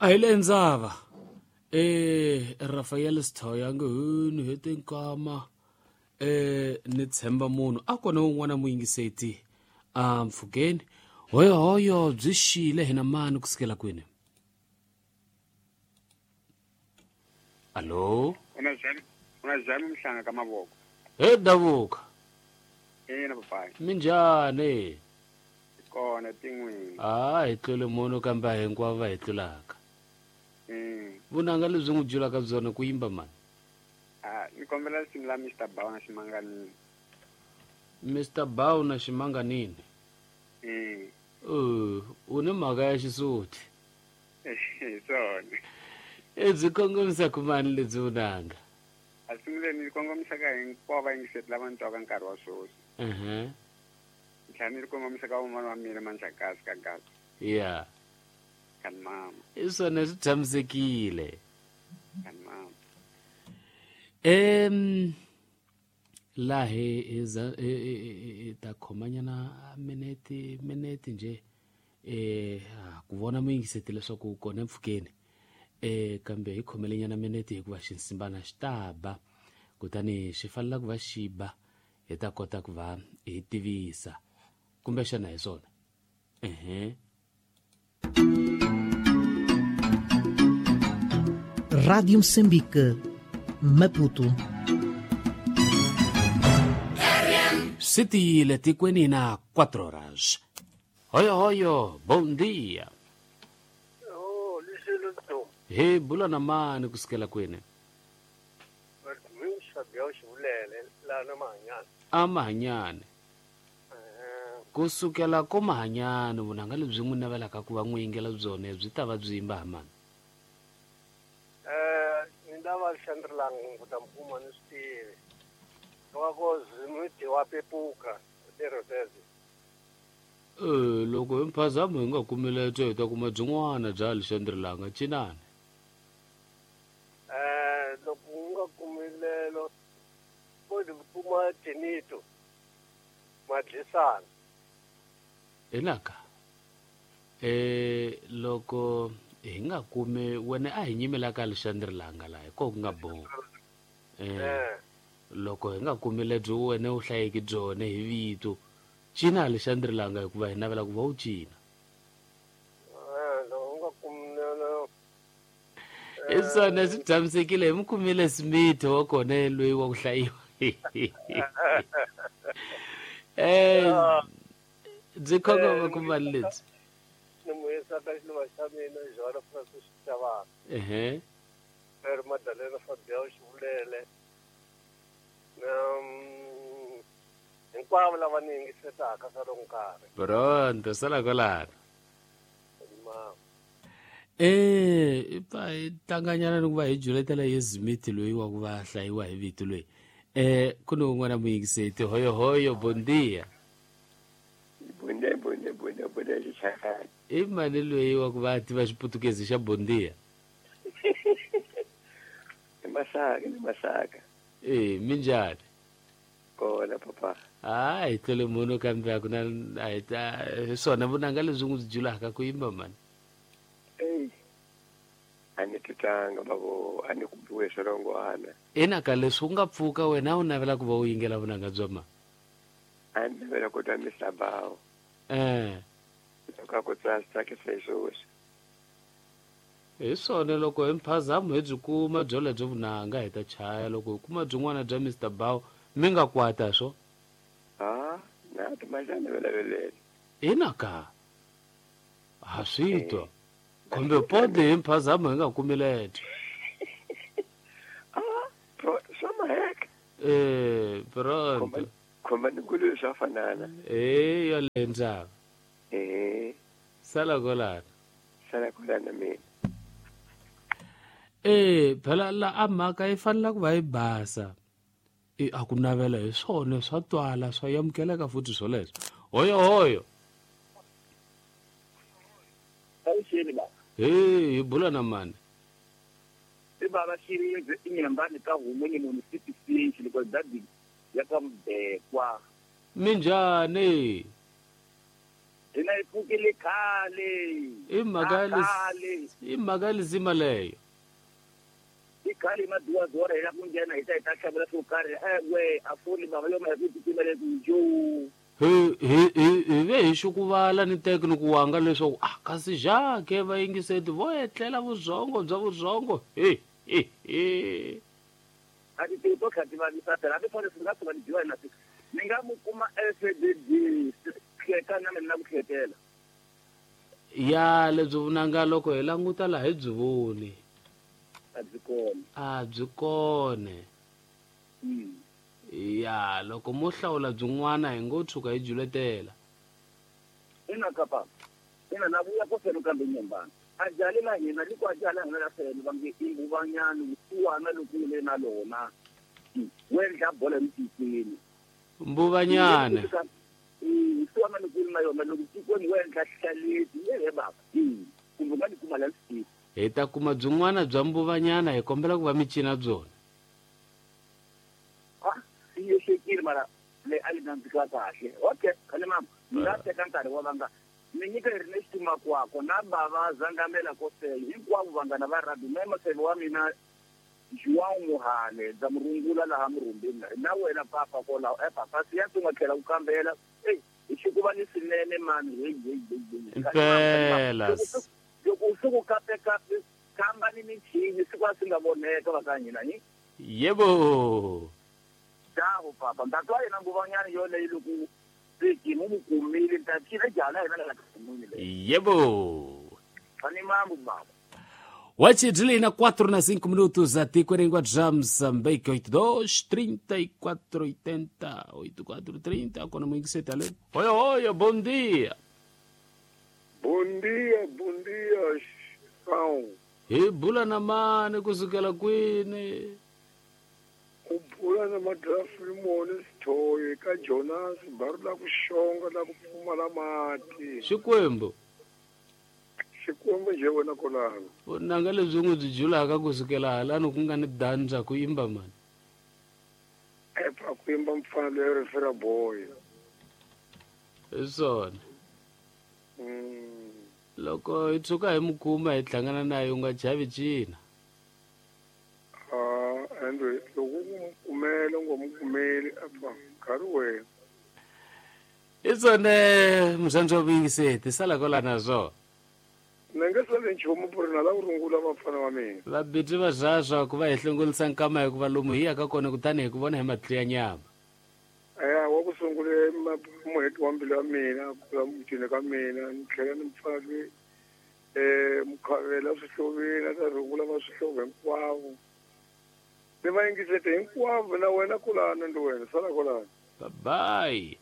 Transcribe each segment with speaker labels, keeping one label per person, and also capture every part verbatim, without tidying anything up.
Speaker 1: A hi le ndzava eh Rafael Sithoya nge ni hete nkama eh ni tshemba munhu a kona un'wana muyingiseti a mpfhukeni hoyo hoyo byi xile hina mani kusukela kwini. Alo
Speaker 2: una jami una jami mhlanga ka mavoko
Speaker 1: he davuka
Speaker 2: ina papai
Speaker 1: minjhani
Speaker 2: kona tin'wini
Speaker 1: a hi tlule munhu kambe a hinkwavo va hi tlulaka
Speaker 2: mm
Speaker 1: vunanga lebyi n'wi byulaka byona ku yimba mani
Speaker 2: a ni kombela risimu la Mister Bow na Ximanganini.
Speaker 1: Mister Bow na Ximanganini
Speaker 2: mm
Speaker 1: uh u ni mhaka ya xisuti
Speaker 2: hi swona
Speaker 1: e byi kongomisa ku mani lebyi vunanga
Speaker 2: a sungule ni kongomisa ka hinkwavo vayingiseri lava ni twaka nkarhi wa sweswi
Speaker 1: ehe
Speaker 2: ni tlhela ni ri kongomisa ka un'wana wa mina Manjakazi ka Gaza
Speaker 1: ya
Speaker 2: kani mama
Speaker 1: i swona swi tshamisekile
Speaker 2: kani mama
Speaker 1: em laha hi hi ta khomanyana minete minete nje eh ku vona muyingiseti leswaku kona empfhukeni eh kambe hi khomelenyana minete hikuva xinsimbana xi ta ba kutani xi fanela ku va xi ba hi ta kota ku va hi tivisa kumbexana hi swona ehe.
Speaker 3: Rádio Moçambique, Maputo.
Speaker 1: Swi tiyile tikweni na quatro horas. Hoyo hoyo, bom dia.
Speaker 4: Oh, lexilo
Speaker 1: Hi bula na mani kusukela kwini? A Mahanyane. Kusukela ko Mahanyane vunanga lebyi n'wi navelaka ku va n'wi yingela byona byi ta va byi yimba ha mani?
Speaker 4: Eh, ni ndava Alexandre ku ta mukuma ni swi tivi. Loko Zimiti wa pepuka lerotezi.
Speaker 1: Eh, loko hi mphazamo hi nga kumile byo hi ta kuma byin'wana bya Alexandre Langa cinani.
Speaker 4: Eh, loko u nga kumilelo ko di kuma Tinito Madlisana.
Speaker 1: Inaka. Eh, loko hi nga kumi wena a hi nyimela ka Alexandre Langa laha ko ku nga boha. Eh. Loko hi nga kumi lebyi wena u hlayeki byona hi vito cina Alexandre Langa hikuva hi navela ku va u cina.
Speaker 4: Eh, loko u nga kumilelo
Speaker 1: i swona swi tshamisekile hi mi kumile Smith wa kona loyi wa ku hlayiwa. Eh, byi khongoma ku mali lebyi
Speaker 4: ni muyisa ka xiluva xa mina Joana Francis Xavana.
Speaker 1: Ehe.
Speaker 4: Mary Madalena Fabiao Xivulele. Um, hinkwavo lava ni yingisetaka swa loko nkarhi.
Speaker 1: Pronto, sala kwalano. Eh, i pfa hi tlanganyana ni ku va hi juletela hi Smith loyi wa ku va hlayiwa hi vito loyi. Eh, ku ni un'wana muyingiseti hoyo hoyo, bon dia.
Speaker 5: Bom dia, bom dia, bom dia, bom dia, Xixakani.
Speaker 1: I mani loyi wa ku va tiva xiputukezi xa bon dia?
Speaker 5: I Masaka, ni Masaka.
Speaker 1: Eh, minjhani?
Speaker 5: Kona papa.
Speaker 1: Ah, hi tlule munhu kambe a ku na a hi ta hi swona vunanga lebyi n'wi byulaka ku yimba mani.
Speaker 5: Ey. A ni titanga babo, a ni ku biwe swirongwana.
Speaker 1: Ina ka leswi u nga pfuka wena u navela ku va u yingela vunanga bya ma?
Speaker 5: A ni navela ku twa Mister Bow.
Speaker 1: Eh.
Speaker 5: Loko a ku tsasa tsakisa hi sweswi.
Speaker 1: Hi swona loko hi mphazamo hi byi kuma byo lebyo vunanga hi ta chaya loko hi kuma byin'wana bya Mister Bow mi nga kwata swo.
Speaker 5: Ah, na timajana velavelele.
Speaker 1: Ina ka ha swi twa. Kumbe pode hi mphazamo hi nga kumi lebyo.
Speaker 5: Ah, pro swa maheka.
Speaker 1: Eh, pronto.
Speaker 5: Khomba ni nguluve swa fanana.
Speaker 1: Eh, yo le ndzhaku.
Speaker 5: Eh.
Speaker 1: Sala kwalano.
Speaker 5: Sala kwalano mina.
Speaker 1: Eh, phela la a mhaka yi fanela ku va yi basa. E a ku navela hi swona swa twala swa amukeleka futhi swoleswo. Hoyo hoyo.
Speaker 6: Awuxeni ba.
Speaker 1: Hey, hi bula na mani?
Speaker 6: I baba Xirindze i nyambani ka humo ni munhu C P C loko dadi ya ka Mbekwa.
Speaker 1: Minjhani?
Speaker 6: Hina hi pfukile khale.
Speaker 1: I mhaka i mhaka lisima leyo.
Speaker 6: I khale maduwa-duwa hi la ku nghena hi ta hi ta xavela swo karhi ewe a foni bava yo ma hi ku titimele ku jo.
Speaker 1: Hi hi hi hi ve hi xukuvala ni teke ni ku wanga leswaku ah kasi Jacques va yingiseti vo etlela vuzongo bya vuzongo he he he.
Speaker 6: A ti to kha ti vavisa phela hambi foni swi nga tshuka ni dyiwa hi masiku ni nga mu kuma S D D hleka na mina ku hlekela.
Speaker 1: Ya lebyi vunanga loko hi languta laha hi byi voni.
Speaker 6: A byi kona.
Speaker 1: A byi kona.
Speaker 6: Mm.
Speaker 1: Ya loko mo hlawula byin'wana hi ngo tshuka hi juletela.
Speaker 6: Ina kapa. Ina na vuya ko felo kambe nyembana. A jali la hina liko a jala hina la felo va nge i mbuvanyana uwana loko le na lona. Wendla bola mtikweni.
Speaker 1: Mbuvanyana.
Speaker 6: Uwana loko na yona loko tikweni wendla hlaleti le baba. Kumbe nga ni kuma la swi.
Speaker 1: Hi ta kuma byin'wana bya mbuvanyana hi kombela ku va mi cina byona.
Speaker 6: Yesekile mara le a li nandzika kahle. Okay, khale mama, ni nga teka nkarhi wa vanga. Ni nyika Ernest Makwako na bava Zangamela Kosele hinkwavo vanghana va rugby me maseve wa mina João Muhale dza murungula laha murhumbini na wena papa kwalaho e papa siya tu nga tlhela ku kambela ei hi xikuva ni swinene mani hey hey hey.
Speaker 1: Impela.
Speaker 6: Loko swi ku kape kape kamba ni michini siku a swi nga voneka va ka hina ni.
Speaker 1: Yebo.
Speaker 6: Dawo papa ntatwa yena nguvanyana yoleyo loko seki mu kumile ntathile jala yena la kumile.
Speaker 1: Yebo.
Speaker 6: Ani mambo baba.
Speaker 1: Wachidlina quatro na cinco minutos a Ticoringua Moçambique oito dois trinta e quatro oitenta oito quatro trinta quando muito se tá lendo. Oi oi, bom dia.
Speaker 7: Bom dia, bom dia, São.
Speaker 1: E bula na mane kusukela kwini.
Speaker 7: U bula na madrafimoni sithoyi ka Jonas baru la ku xonga la ku pfumala mati.
Speaker 1: Xikwembu.
Speaker 7: Xikwembu nje wena kolano.
Speaker 1: Vunanga lebyi n'wi byi julaka kusukela halani ku nga ni dandza ku yimba mani.
Speaker 7: Epa ku yimba mfana loyi refera boy.
Speaker 1: Hi swona.
Speaker 7: Mm.
Speaker 1: Loko hi tshuka hi mu kuma hi hlangana naye u nga chavi cina.
Speaker 7: Ah, ende loko u mu kumela u nga mu kumeli apa nkarhi wena.
Speaker 1: Hi swona muzandzi wa vuyingiseti sala kwala na swona.
Speaker 7: Ni nge sali nchumu ku ri na la ku rungula vafana va mina.
Speaker 1: Vabitsi va zvazva ku va hi hlongolisa nkama hikuva lomu hi yaka kona kutani hi ku vona hi matihlo ya nyama.
Speaker 7: Eya wa ku sungule muheti wa mbilu ya mina ku la mutini ka mina ni tlhela ni mfana loyi um mukhavela swihloveni a ta rungula va swihlovo hinkwavo. Ni va yingisete hinkwavo na wena kulana ndi wena sala kolana.
Speaker 1: Bye bye.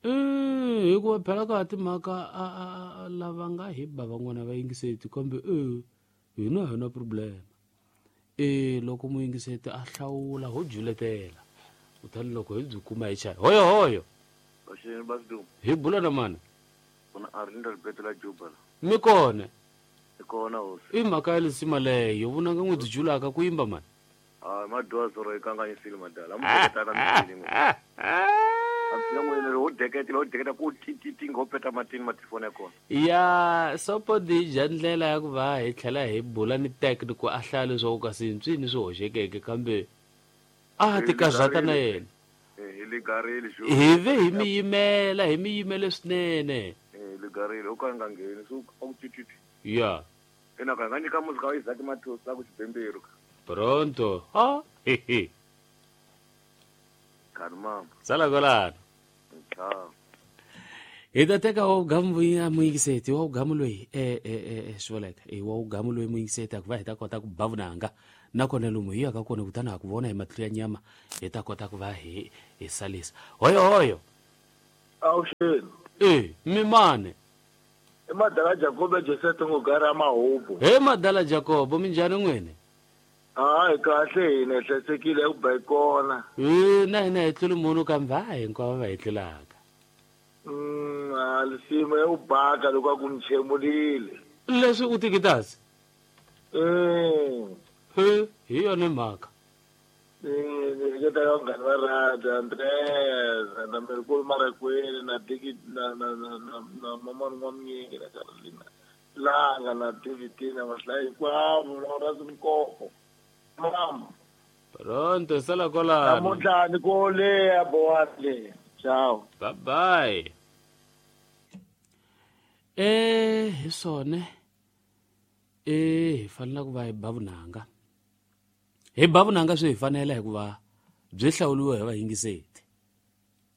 Speaker 1: Eh hikuva phela ka timhaka a lava nga hi ba van'wana va yingiseti kambe eh hina hina problem. Eh loko muyingiseti a hlawula ho juletela. Kutani loko hi byi kuma hi chaya. Hoyo hoyo.
Speaker 8: Baxeni Basdum.
Speaker 1: Hi bula na mani?
Speaker 8: Kuna Arlinda Ribeto la Juba.
Speaker 1: Mi kona.
Speaker 8: Hi kona hosi.
Speaker 1: I mhaka ya lisima leyo vunanga n'wi byi julaka ku yimba mani.
Speaker 8: Ah madwa zoro yi kanganyisile madala. Amuketana mitini.
Speaker 1: Ya sopo dija ndlela ya ku va hi tlhela hi bula ni tech ku a hlaya leswaku kasi ntswini swi hoxekeke kambe a ti karhata na yena. Hi ve hi mi yimela hi mi yimele swinene. Ya. Pronto. Ha he he. Sala kolana. Hi ta teka wa wugamu ya muyingiseti wa wugamu loyi e e e swi vuleka e wa wugamu loyi muyingiseti ku va hi ta kota ku ba vunanga nakona lomu hi yaka kona kutani ha ku vona hi matihlo ya nyama hi ta kota ku va hi hi salisa. Hoyo hoyo.
Speaker 9: Awuxeni.
Speaker 1: E mi mane.
Speaker 9: I madala Jacob Joseph Ngogara Mahubu.
Speaker 1: He madala Jacob minjhani n'wini?
Speaker 9: Hayi kahle hina hi hlayisekile ku ba hi kona.
Speaker 1: E na hina hi tluli munhu kambe a hinkwavo va hi tlulaka.
Speaker 9: Mm, a lisima ya ku baka loko a ku ni chemulile.
Speaker 1: Leswi u tikitasi?
Speaker 9: Mm.
Speaker 1: He hi yona mhaka.
Speaker 9: Eh ni hleketa ka vanghana va radio Andreas na Merikulu Marakwini na Diki na na na na na Mamani N'wamnyingi na Carolina Langa na David na Mahlayi hinkwavo na Horace Mkoko. Mama.
Speaker 1: Pronto, sala kolano.
Speaker 9: Namuntlha ni ko leya bowani le. Ciao.
Speaker 1: Bye bye. Eh, hi swona. Eh, hi fanele ku va hi ba vunanga. Hi ba vunanga swi hi fanela hikuva byi hlawuriwe hi vayingiseti.